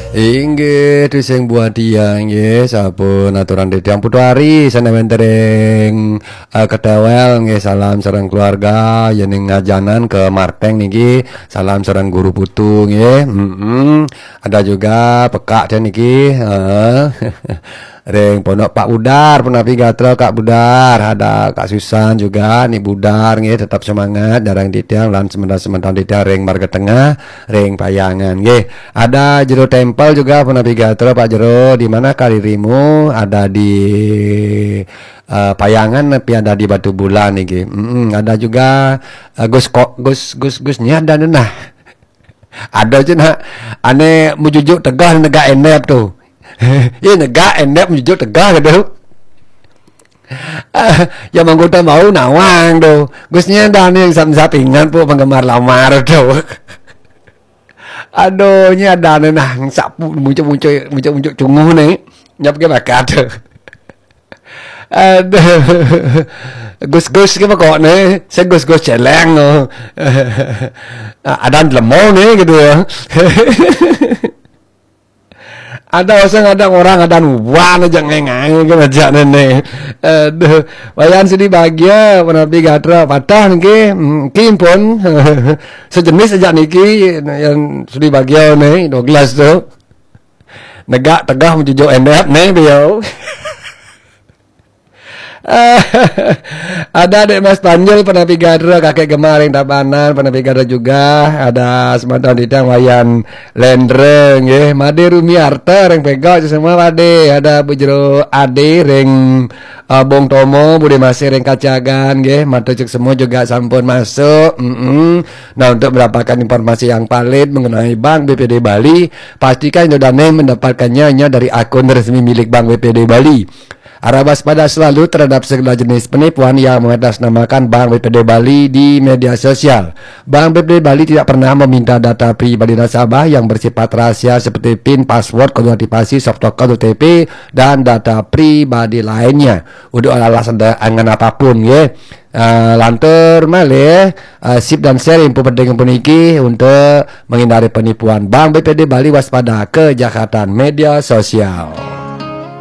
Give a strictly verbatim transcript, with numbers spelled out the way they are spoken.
Inggih, tusing buah tiang, nggih, sampun aturan titiang Putu Ari, sané wénten ring, eh, Ketewel, nggih, salam sareng keluarga, yéning ngajanan ke Marteng niki, salam sareng Guru Putu, nggih. Mm-mm. Ada juga pekak teh niki, heeh. Ring Pondok Pak Budar, punapi gatra Kak Budar, ada Kak Susan juga, Ni Budar, nggih, tetap semangat, sareng titiang, lan semeton-semeton titiang ring Marga Tengah, ring Payangan, nggih. Ada Jero Tempel juga, punapi gatra Pak Jero, di mana karirimu? Ada di, eh, Payangan, tapi ada di Batubulan niki. Mm-mm, ada juga, eh, Gus Ko-, Gus, Gus, Gus Nyadan nah. Ada cé nak, ané mujujuk tegah negak endep tu. Iya, negak endep mujujuk tegah gitu. Ya, manggota bau nawang tu. Gus Nyadan yang sap-, sapingan pu penggemar lamar tu. Aduh, nya ada ané nah sapu muncul-muncul, muncul-muncul cunguh ni. Nyap ke bakat tu. Aduh. Gus-gus ke pokok ni, saya gus-gus celeng tu. Ah, ada lemo ni gitu ya. Ada orang, ada orang, ada nuan aja ngengai ke aja ni. Aduh, Wayan Sudi Bagia, punapi gatra patah niki, hmm, kimpun. Sejenis aja niki, yang Sudi Bagia ni, Douglas tu. Negak tegah mujujuk endep ni, beliau. Ada Dek Mas Panjul, punapi gatra, Kakek Gemar ring Tabanan, punapi gatra juga. Ada semeton titiang Wayan Lendra, nggih. Made Rumi Arta ring Pega, semua pade. Ada Bu Jero Ade ring, eh, Bong Tomo, Bude Masih ring Kacagan, nggih. Matur cek semua juga sampun masuk. Mm-mm. Nah, untuk mendapatkan informasi yang valid mengenai Bank B P D Bali, pastikan Indo Dane mendapatkannya hanya dari akun resmi milik Bank B P D Bali. Harap waspada selalu terhadap segala jenis penipuan yang mengatasnamakan Bank B P D Bali di media sosial. Bank B P D Bali tidak pernah meminta data pribadi nasabah yang bersifat rahasia seperti pin, password, kode aktivasi, soft token, O T P, dan data pribadi lainnya. Untuk alasan dan angan apapun, ya. Ah, lantur malih, ah, sip dan share info penting puniki untuk menghindari penipuan. Bank B P D Bali, waspada kejahatan media sosial.